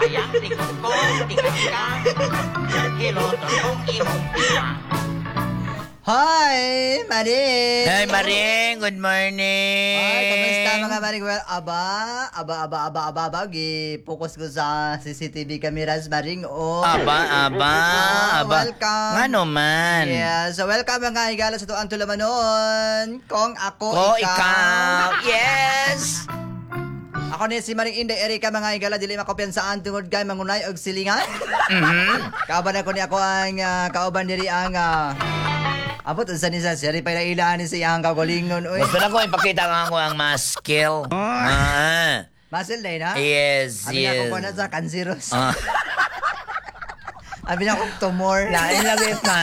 Hayang tikong tikang Hiloton kong imong pila. Hi, Maring! Hey, Maring! Good morning! Ay, kamusta, mga Maring? Well, aba, aba, aba, aba, aba, aba, gi-focus ko sa CCTV cameras, Maring. Oh. Aba, aba, Ah, aba. welcome. Ngano man? Yeah, so welcome, mga higala, sa tuang tulamanon. Kung ako, Ko, ikaw. Yes! Ako ni si Maring Inday Erika, mga higala, dili makopiyansaan tungod kay mangunay og silingan. Kauban ako ni ako ang kauban diri ang abot unsa ni sa seri pa ilaan ni sa iyang kaugalingon, oy. Gusto na ko ipakita nga ako ang mga skill. Ah. Muscle day na? Yes, Abi na yes. ko na sa cancerous. Ah. Abi na akong tumor. Lain lagi pa.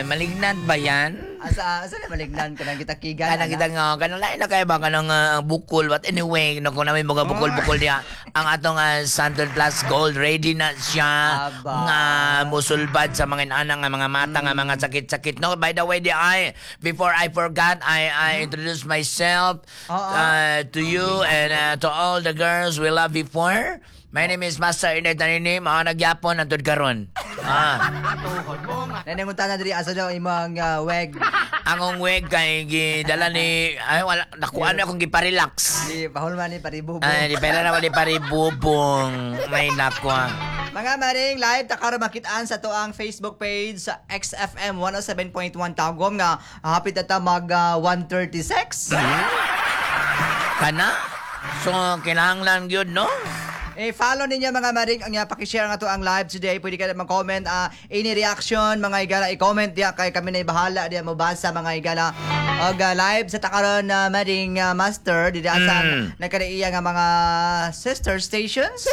Malignant ba yan? Asa asa na malignan ka nang kita kigan? Kanang kita nga, kanang lain na kayo ba, kanang bukol. But anyway, no, kung namin mga bukol-bukol niya, ang atong Santon Plus Gold, ready na siya. Aba. Nga musulbad sa mga inana, nga mga mata, nga mga sakit-sakit. No, by the way, di I, before I forgot, I introduce myself Oo. To you and to all the girls we love before. My name is Master Inday Tanini, mga nagyapon, nandun karon. Ah. Nanangunta na diri, asa daw imong wig? Ang wig kay gidala ni, ay, wala, nakuha na akong giparelax. Di pahulman ni paribubo. Ay, di pera na wala paribubong. May nakuha. Mga Maring, live ta karon makitaan sa tuang Facebook page sa XFM 107.1 Tagum nga hapit na ta mag 1:36. Kana? So, kinahanglan gyud, no? Eh, follow ninyo, mga Maring, ang paki-share nga to ang live today. Pwede ka mag-comment, any reaction, mga higala, i-comment diya kay kami na bahala diya mobasa, mga higala. Og live sa takaron na Maring Master di sa nagkadaiya nga mga sister stations.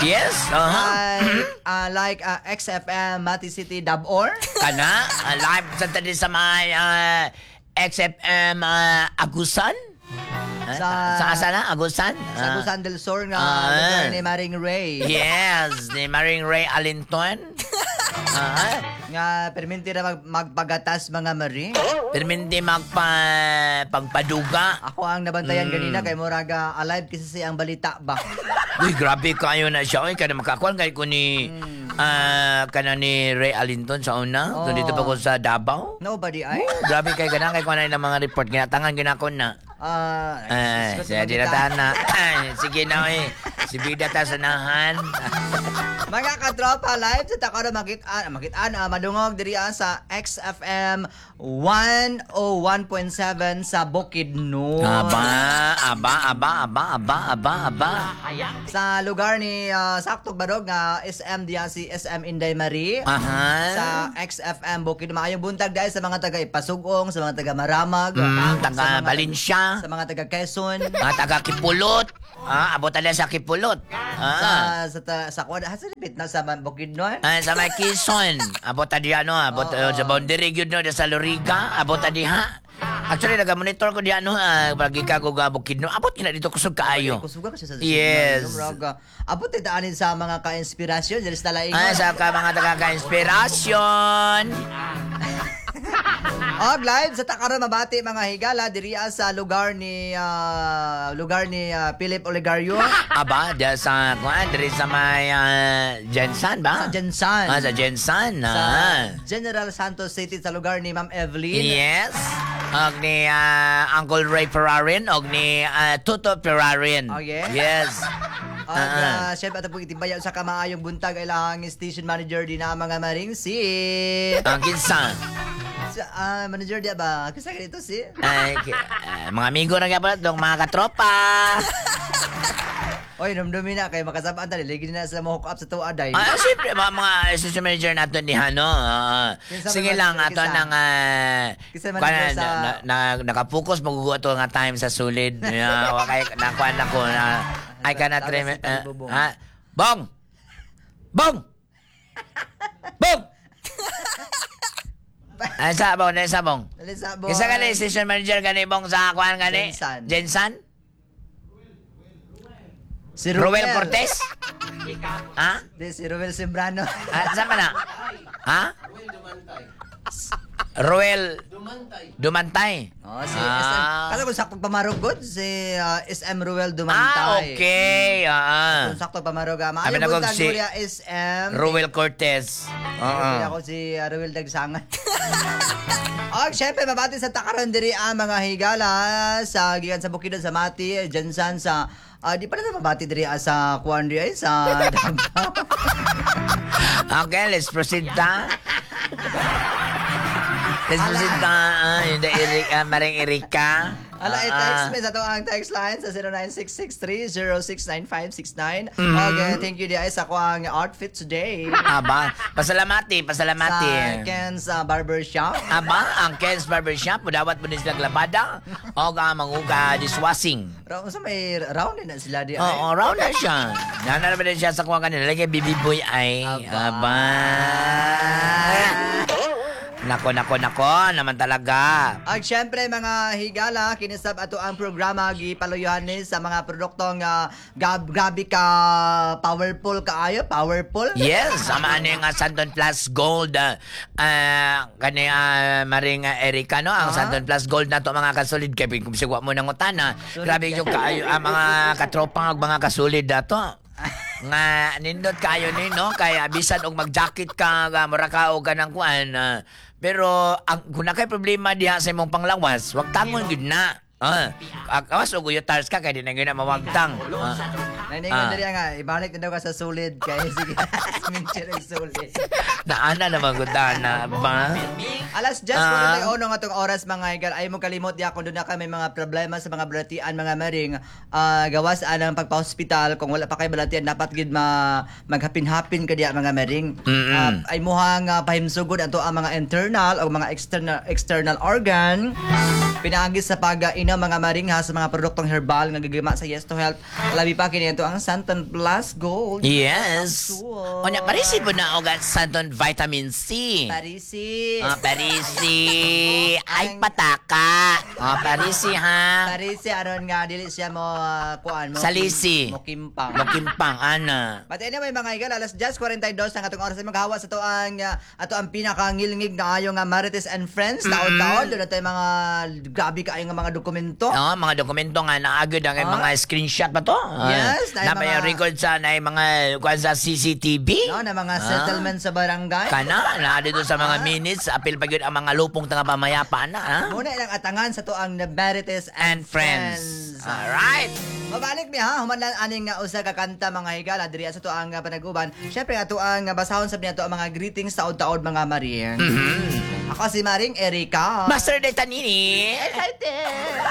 Yes? Aha. Ay, like XFM Mati City Dabor. Kana? Live sa tadi sa may XFM Agusan? Ah, sa asa na? Agusan? Sa Agusan del Sur nga lugar ni Maring Ray. Yes, ni Maring Ray Alinton. Nga perminti ra magpagatas, mga Maring. Perminti magpa pagpaduga. Ako ang nabantayan ganina kay murag alive kasi siya ang balita ba. Uy, grabe kayo na siya. Uy, kada makakuan kay ko ni kana ni Ray Alinton sa una. Oh. Oh. Dito pa ko sa Davao. Nobody ay. Grabe kay kana kay kuan na mga report ginatangan ginakon na. Ah, Ay, siya di na na. Ay, sige na eh. Si Bida ta sanahan. Mga katropa, live sa Takaro makitaan, makitaan, madungog diri sa XFM 101.7 sa Bukidnon. Aba, aba, aba, aba, aba, aba, aba. Sa lugar ni Saktog Barog nga SM diya si SM Inday Marie. Sa XFM Bukid. Maayong buntag dahil sa mga taga Ipasugong, sa mga taga Maramag, Taga sa mga Valencia. sa mga taga Quezon, Mga taga Kipulot. Ah, abot na sa Kipulot. sa sa kuan, sa lipit na sa Bukidnon. Ah, sa may Quezon. Abot ta diha no, abot sa boundary gyud no sa Lorica, abot ta diha. Actually naga-monitor ko diha no, pagi ka ko ga Bukidnon. Abot kina dito kusog kaayo. Kusuga kasi sa Yes. Murag, abot daanin sa mga ka-inspirasyon diri sa Talaingon. Ah, sa ka mga taga ka-inspirasyon. Og live sa Takaro mabati, mga higala, diri sa lugar ni Philip Olegario. Aba, diya sa kuan diri sa may Jensan ba? Sa Jensan. Ah, sa Jensan. Sa General Santos City sa lugar ni Ma'am Evelyn. Yes. Og ni Uncle Ray Ferrarin og ni Tuto Ferrarin. Oh, yeah? Yes. Og syempre ato pong itimbaya sa kamaayong buntag ay lahang station manager din na, mga Maring, si Ang kinsa? Sa, manager diya ba? Kasi ganito si Ay, mga amigo na gyapon dong mga katropa. Oy, numdumi na kay makasabaan ta ligi na sa mo hook up sa tuwa day. Ah, siyempre mga station manager nato ni Hano. Kinsa Sige man lang manager ato kinsa? nang Kinsa manager na, naka-focus magugo ato nga time sa sulid. Yeah, wa kay nakuan ako na I cannot Tagas remember. si Talibobong. Ha? Bong! Bong! Bong! Ay, sa bong, ay, sa bong. Dali sa boy. Kinsa gani station manager gani, Bong, sa kuan gani? Jensan. Jensan? Si Ruel Cortez? Ha? Di, si Ruel Sembrano. Ah, saan ba na? Ha? Roel Dumantay. Oh, si SM. Kasi kung sakto pamarugod, si SM Ruel Dumantay. Ah, okay. Kung sakto pamarug. Abi Maayo na kong buntag, si Gloria SM. Ruel Cortez. Oo. Ako si Ruel Dagsangan. Og syempre mabati sa takaron diri ang mga higala sa gikan sa Bukidnon, sa Mati, Jensan sa di pa na mabati diri sa kuan diri ay sa Davao. Okay, let's proceed ta. Let's proceed ta. Yung da Erika, Maring Erika. Ala, i-text me sa ato ang text line sa 0966-3069569. Okay, thank you di ay sa kuang outfit today. Aba, pasalamati, pasalamati. Sa Ken's Barber Shop. Aba, ang Ken's Barbershop, mudawat mo din sila labada o ka manguga dishwashing. Round sa may round din na sila di ay. Oo, round na siya. Nana na din siya sa kuha kanila. Lagi baby boy ay. Aba. Aba. Nako, nako, nako. Naman talaga. Ag syempre mga higala, kinisab ato ang programa gipaluyuhan ni sa mga produktong grabe ka powerful kaayo, powerful. Yes, ama ano yung Santon Plus Gold. Kani Maring Erika, no? Ang Santon Plus Gold na to mga kasulid. Kaya kung sigwa mo ng utana, grabe yung kaayo, ang mga katropa ug mga kasulid na to. Nga nindot kayo ni no kaya bisan og mag-jacket ka nga mura ka og kanang kuan pero ang kung na kay problema diha sa imong panglawas, wag tangon gyud na. Awas og uyotars ka kay di na gyud na mawagtang. Naningon diri nga ibalik na daw ka sa sulid kay sige minchir ang sulid. Naana naman gud na ba? Alas 10 41 nga atong oras, mga higal. Ay mo kalimot ya kung doon na ka may mga problema sa mga balatian, mga maring, gawas anang pagpa-hospital. Kung wala pa kay balatian, dapat gid ma maghapin-hapin ka diya, mga maring. Ay muhang pahimsugod ato ang mga internal o mga external external organ pinaagi sa pag-inom, mga maring ha, sa mga produktong herbal nga gigima sa Yes to Health, labi pa kini ato ang Santan Plus Gold. Yes. Cool. Onya parisi po na og Santon Vitamin C. Parisi. Ah, parisi. Ay pataka. Ah, parisi ha. Parisi aron nga dili siya mo kuan mo Salisi. mo kimpang. Makimpang ana. But anyway, mga higala, alas 10:42 ang atong oras ay maghawa sa ato ang pinakangilngig na ayo nga Marites and Friends taon-taon. Doon na tayo mga grabe kaayo nga mga dokumento. Oo, mga dokumento nga naagod ang mga screenshot pa to. Yes, na na may record sa na mga kuan sa CCTV. No, na mga settlement sa barangay. Kana na dito sa mga minutes apil pa gyud ang mga lupong taga pamayapa na ha. Muna ilang atangan sa to ang Marites And Friends. Alright. Mabalik mi ha, human lang aning nga usa ka kanta, mga higala, diri sa to ang panaguban. Syempre ato ang basahon sa ato ang mga greetings taod-taod, mga maring. Ako si Maring Erika. Master Detanini. Excited!